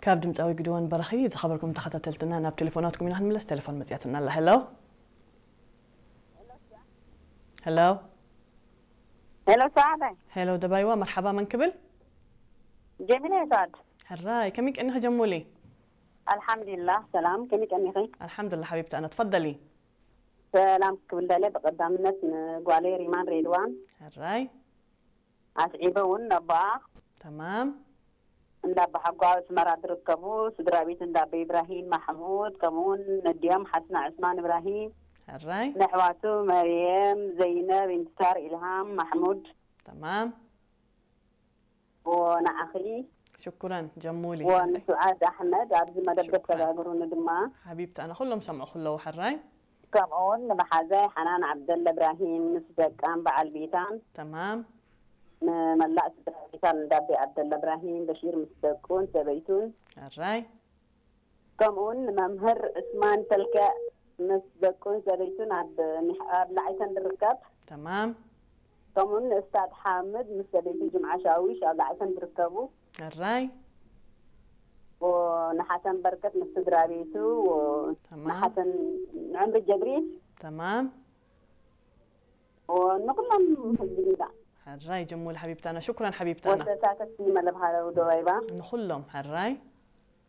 ካብ ድምፃዊ ግድወን በረኺ ዝኸበርኩም ተኸታተልትና ናብ ቴሌፎናትኩም ኢና ክንምለስ። ቴሌፎን መፅያትና ኣላ። ሄሎ፣ ሄሎ፣ ሄሎ፣ ሰዓደ። ሄሎ ደባይዋ፣ መርሓባ። መን ክብል? ጀሚላ ይሳድ። ሕራይ፣ ከመይ ቀኒኺ ጀሙሊ? ኣልሓምዱሊላህ ሰላም፣ ከመይ ቀኒኺ? ኣልሓምዱሊላህ ሓቢብቲ ኣነ፣ ትፈደሊ። ሰላም ክብል ደለ ብቐዳምነት ንጓለይ ሪማን ሬድዋን ሕራይ። ኣስዒበ እውን ነቦኣ ተማም። እንዳ ኣባሓጎ ኣብ ኣስመራ ዝርከቡ ስድራ ቤት እንዳ ኣቦይ ኢብራሂም ማሕሙድ፣ ከምኡ እውን ነዲኦም ሓስና ዕስማን ኢብራሂም፣ ሕራይ። ነሕዋቱ መርየም፣ ዘይነብ፣ ኢንትሳር፣ ኢልሃም፣ ማሕሙድ፣ ተማም። ወንዓኺ ሽኩረን ጀሙሊ። ወንስዓድ ኣሕመድ ኣብዚ መደብ ሽኩረን። ዘተጋግሩኒ ድማ ሓቢብቲ ኣነ፣ ኩሎም ሰምዑ ክለዉ። ሕራይ። ከምኡውን ንመሓዛይ ሓናን ዓብደላ እብራሂም ምስ ደቃን በዓል ቤታን፣ ተማም። ንመላእ ስድራ ቤታን እንዳቤ ዓብደላ እብራሂም በሺር ምስ ደቁን ሰበይቱን፣ ሕራይ። ከምኡውን ንመምህር ዑስማን ተልከዕ ምስ ደቁን ሰበይቱን ኣብ ሚሕ- ኣብ ላዕይተን ዝርከብ፣ ተማም። ከምኡውን ንእስታድ ሓምድ ምስ ሰበይቱ ጅምዓ ሻዊሽ ኣብ ላዕይተን ዝርከቡ፣ ሕራይ። ንሓሰን በርከት ምስ ስድራ ቤቱ፣ ተማም። ንሓሰን ንዕምሪ ጀብሪል፣ ተማም። ንኩሎም ህዝቢ ዲዳ ሕራይ ጀሙሊ ሓቢብታና፣ ሽኩረን ሓቢብታና። ወተሳተፍቲ መለብ ሃለው ደባይባ። ንኹሎም ሕራይ።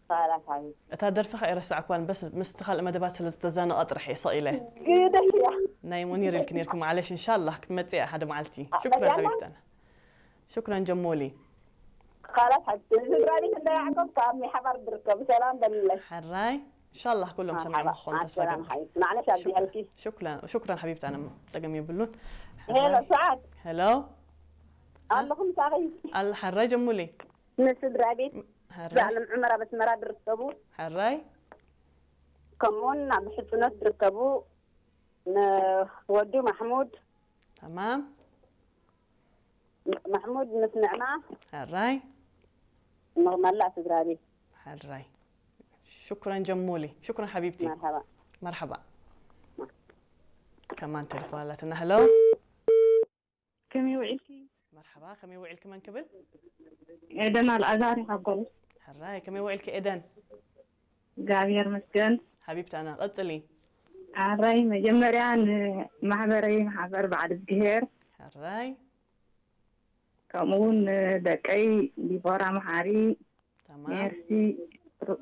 ኻላስ ሓቢብ እታ ደርፊ ከ ኣይረሳዕኩዋን፣ በስ ምስቲ ካልእ መደባት ስለ ዝተዛነቐ ጥራሕ እየ ሰቕ ኢለ። ግደሽ እያ። ናይ ሙኒር ኢልኪ ነርኪ፣ ማዕለሽ፣ እንሻላህ ክትመጽእ እያ ሓደ መዓልቲ። ኣ፣ ሽኩረን መጽኣና? ሓቢብታና። ሽኩረን ጀሞሊ። ኻላስ ሓቢብ ስድራ ቤት እንዳ ያዕቆብ ካብ ሚሓባር ዝርከቡ ሰላም በልለይ። ሕራይ። እንሻላህ ኩሎም ሰሚዖም መርሓባ። ክኾኑ ተስፋ ሰላም ይገብር። ሓቢብ። ማዕለሽ ኣብዚሐልኪ። ሽኩረን፣ ሽኩረን ሓቢብታና፣ ጸገም የብሉን። ሄሎ ሰዓት ሄሎ። ኣለኹም ሳኺ ኣል-፣ ሕራይ ጀሙሊ። ንስድራ ቤት ሕራይ። ዘዓለም ዕመር ኣብ ኣስመራ ዝርከቡ፣ ሕራይ። ከምኡውን ኣብ ሕጽኖት ዝርከቡ፣ ንወዱ ማሕሙድ፣ ተማም። ማሕሙድ ምስ ንዕማ፣ ሕራይ። ንመላእ ስድራ ቤት። ሕራይ። ሽኩረን ጀሙሊ። ሽኩረን ሓቢብቲ። መርሓባ። መርሓባ። ከማን ቴሌፎን ኣላትና። ሄሎ። ከመይ ውዒልኪ? መርሓባ፣ ከመይ ውዒልኪ? መን ክብል? ኤደን ኣልኣዛር ይሓጎል። ሕራይ፣ ከመይ ውዒልኪ ኤደን? እግዚኣብሔር መስገን። ሓቢብታና፣ ቀጽሊ። ኣራይ መጀመርያ ንማሕበረይ ማሕበር በዓል እግዚኣብሔር፣ ሕራይ። ከምኡ እውን ንደቀይ ዲቦራ መሓሪ፣ ተማም። ሜርሲ፣ ሩ-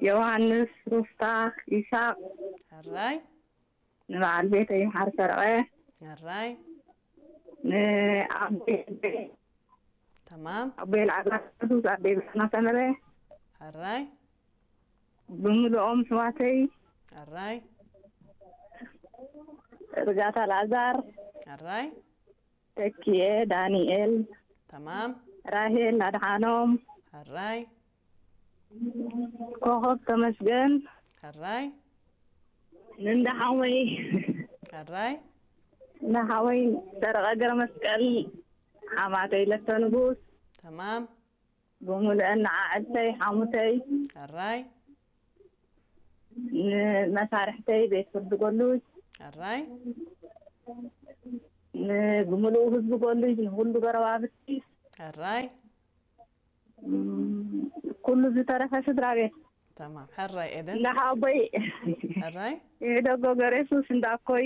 ዮሃንስ፣ ሩፍታ፣ ይሳቅ፣ ሕራይ። ንበዓል ቤተይ መሓሪ ሰረቐ፣ ሕራይ። ንኣቦይ ተማም። ኣቦይ ልዓዛር ቅዱስ፣ ኣቦይ ብርሃና ሰመረ፣ ሕራይ። ብምልኦም ኣሕዋተይ፣ ሕራይ። ርጋታ ልኣዛር፣ ሕራይ። ተኪኤ ዳንኤል፣ ተማም። ራሄል ኣድሓኖም፣ ሕራይ። ኮኸብ ተመስገን፣ ሕራይ። ንእንዳ ሓወይ፣ ሕራይ። እንዳ ሓወይ ሰረቐ ገረመስቀል፣ ሓማተይ ለተ ንጉስ፣ ተማም። ብምሉአን ንዓዕልተይ ሓሙተይ፣ ሕራይ። ንመሳርሕተይ ቤት ፍርዲ ጎሉጅ፣ ሕራይ። ንብምሉኡ ህዝቢ ጎሉጅ፣ ንኩሉ ጎረባብቲ፣ ሕራይ። እም፣ ኩሉ ዝተረፈ ስድራ ቤት፣ ተማም። ሕራይ ኤደን። እንዳ ሓወቦይ ሕራይ። ይዕደጎ ገሬሱስ፣ እንዳ ኣኮይ፣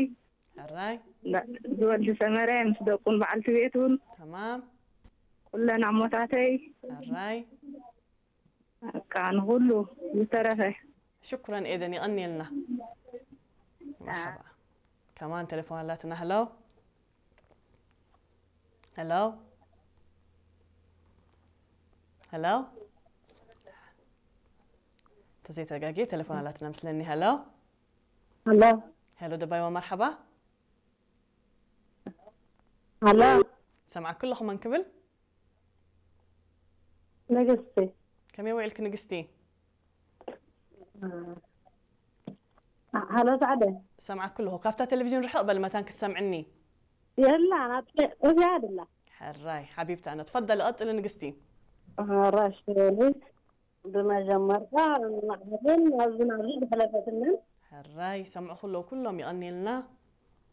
ሕራይ። እንዳ ዝወልዲ ሰመረ ምስ ደቁን በዓልቲ ቤቱን፣ ተማም። ኩለን ኣሞታተይ፣ ሕራይ። በቃ ንኩሉ ዝተረፈ። ሽኩረን ኤደን፣ ይቐንየልና። መርሓባ። ከማን ቴሌፎን ኣላትና። ሄሎ። ሄሎ። ሄሎ። ተዘይተጋጌ ቴሌፎን ኣላትና ምስለኒ። ሄሎ። ሄሎ። ሄሎ ደባይዋ፣ መርሓባ። ሄሎ። ሰምዓኪ ኣለኹ። መን ክብል? ንግስቲ። ከመይ ውዒልኪ ንግስቲ? ሄሎ ሳዕደ። ሰምዓኪ ኣለኹ። ካብታ ቴሌቪዥን ርሕቕ በል መታን ክትሰምዕኒ። የላ፣ ናት እዚኣ ድላ። ሕራይ ሓቢብቲ ኣነ። ትፈደሊ፣ ቀጽሊ ንግስቲ። ራሽ በሊ። ብመጀመርታ ንማዕበልን ናብዚ ናብዚ ዝሕለፈትንን። ሕራይ፣ ሰምዑ ኩሎ ኩሎም ይቐንየልና።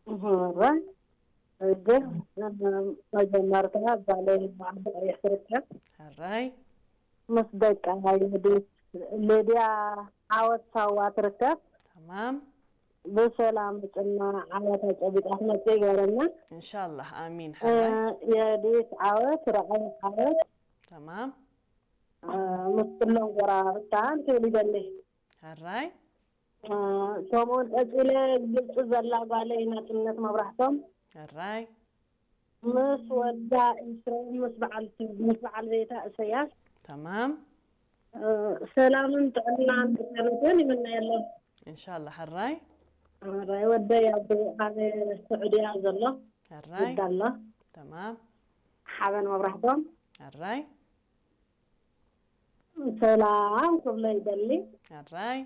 ሕራይ። ሕጂ መጀመርታ ጓለይ ኣብ ዓዲ ቀይሕ ትርከብ። ሕራይ። ምስ ደቃ ይህዲት። ሌድያ ዓወት ሳዋ ትርከብ። ተማም ብሰላም ጽና ዓወታ ጨቢጣ ትመጽእ ይገረና። ኢንሻላህ ኣሚን። ሓራይ የህዲት ዓወት ረቐይ ዓወት ተማም ምስ ኩሎም ጎራብታ ትብል ይደሊ። ሓራይ ከምኡውን ቀጺለ ግብጺ ዘላ ጓለይ ናጽነት መብራህቶም ሓራይ ምስ ወዳ ኢስራኤል ምስ በዓል ምስ በዓል ቤታ እሰያስ ተማም ሰላምን ጥዕናን ጥዕናን ይምነየሎም። ኢንሻላህ። ሓራይ ራይ ወደይ ኣብ ኣብ ስዑድያ ዘሎ ሓራይ ይዳሎ ተማም ሓበን መብራህቶም ሓራይ ሰላም ክብሎ ይደሊ። ሓራይ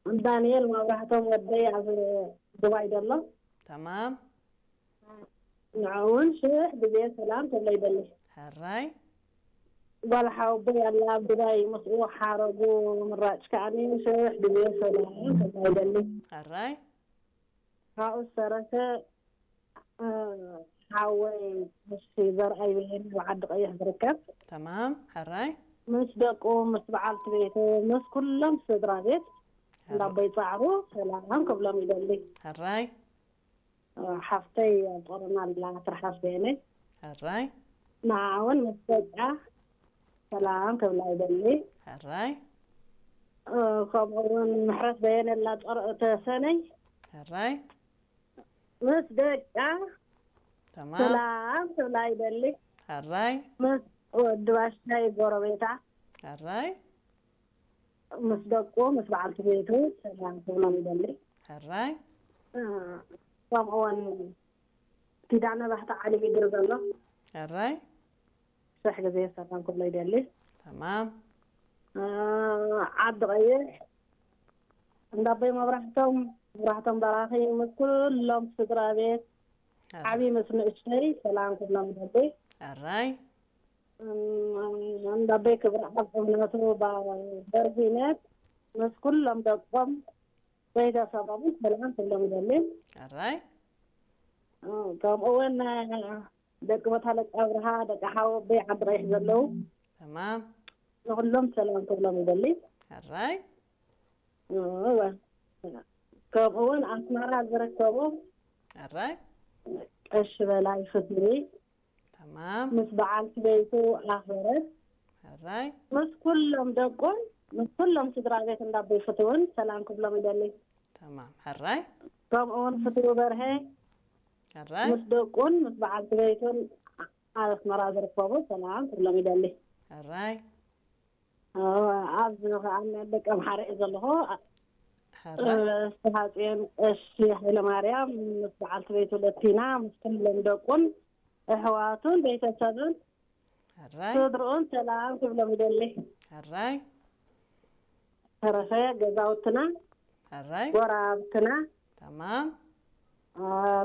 ዳንኤል መብራህቶም ወደይ ኣብ ዱባይ ዘሎ ተማም ንዕውን ሽሕ ግዜ ሰላም ክብሎ ይደሊ። ሓራይ ጓል ሓወቦይ ኣላ ኣብ ዱባይ ምስኡ ሓረጉ ምራጭ ከዓኒ ሽሕ ግዜ ሰላም ክብሎ ይደሊ። ሓራይ ካብኡ ዝተረፈ ሓወይ እሺ ዘርኣይ ብሄን ኣብ ዓዲ ቀይሕ ዝርከብ ተማም ሓራይ ምስ ደቁ ምስ በዓልቲ ቤቱ ምስ ኩሎም ስድራ ቤት እንዳቦይ ጻዕሩ ሰላም ክብሎም ይደሊ። ሓራይ ሓፍተይ ኣብ ጦርና ኣላ ትርሓስ በየነይ ሓራይ ንዓውን ምስ ደቃ ሰላም ክብላ ይደሊ። ሓራይ ከምኡ እውን ምሕረት በየነ ኣላ ጦር ተሰነይ ሓራይ ምስ ደቃ ተማም ሰላም ክብላ ይደሊ። ሓራይ ምስ ወዲ ባሻይ ጎረቤታ ሓራይ ምስ ደቁ ምስ በዓልቲ ቤቱ ሰላም ክብሎም ይደሊ። ሓራይ ከምኡውን ኪዳነ ባህታ ዓሊ ሚድሪ ዘሎ ሓራይ ሽሕ ግዜ ሰላም ክብሎ ይደሊ። ተማም ዓዲ ቀይሕ እንዳቦይ መብራህቶም መብራህቶም በራኺ ምስ ኩሎም ስድራ ቤት ዓብዪ ምስ ንእሽተይ ሰላም ክብሎም ይደሊ። ሓራይ እንዳቦይ ክብረኣብ እምነቱ በርሂነት ምስ ኩሎም ደቆም ቤተሰቦምን ሰላም ክብሎም ይደሊ። ሓራይ ከምኡ እውን ደቂ ቦታ ደቂ ኣብርሃ ደቂ ሓወቦይ ዓዲ ቀይሕ ዘለዉ ተማም ንኩሎም ሰላም ክብሎም ይደሊ። ሓራይ እወ። ከምኡ እውን ኣስመራ ዝርከቡ ሓራይ ቀሺ በላይ ፍትዊ ተማም ምስ በዓልቲ ቤቱ ኣኽበረት ሓራይ ምስ ኩሎም ደቁን ምስ ኩሎም ስድራ ቤት እንዳቦይ ፍትውን ሰላም ክብሎም ይደሊ። ተማም ሓራይ ከምኡ እውን ፍትዊ በርሀ ሓራይ ምስ ደቁን ምስ በዓልቲ ቤቱን ኣብ ኣስመራ ዝርከቡ ሰላም ክብሎም ይደሊ። ሓራይ ኣብዚ ከዓ ደቂ ኣምሓራ እየ ዘለኹ። ሓራይ ዝተሃፅዮን ቀሺ ሃይለማርያም ምስ በዓልቲ ቤቱ ለቲና ምስ ኩሎም ደቁን ኣሕዋቱን ቤተሰብን ሓራይ ስድርኡን ሰላም ክብሎም ይደሊ። ሓራይ ተረፈ ገዛውትና ሓራይ ጎራብትና ተማም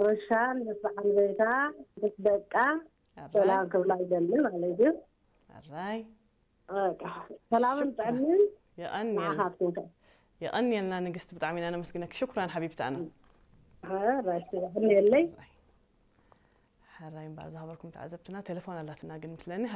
ርሻን ምስ በዓል ቤታ ምስ ደቃ ሓራይ ሰላም ክብላ ይደሊ ማለት እዩ። ሓራይ በቃ ሰላምን ሽኩራን። ጥዕንን የቐንየልና ንዓኻትኩም ከ የቐንየልና ንግስቲ፣ ብጣዕሚ ኢና ነመስግነኪ። ሽኩራን ሓቢብቲ ኣነ ራሽ የለይ። ሓራይ እምበኣር ዝሃበርኩም ተዓዘብትና ቴሌፎን ኣላትና ግን ምስለኒ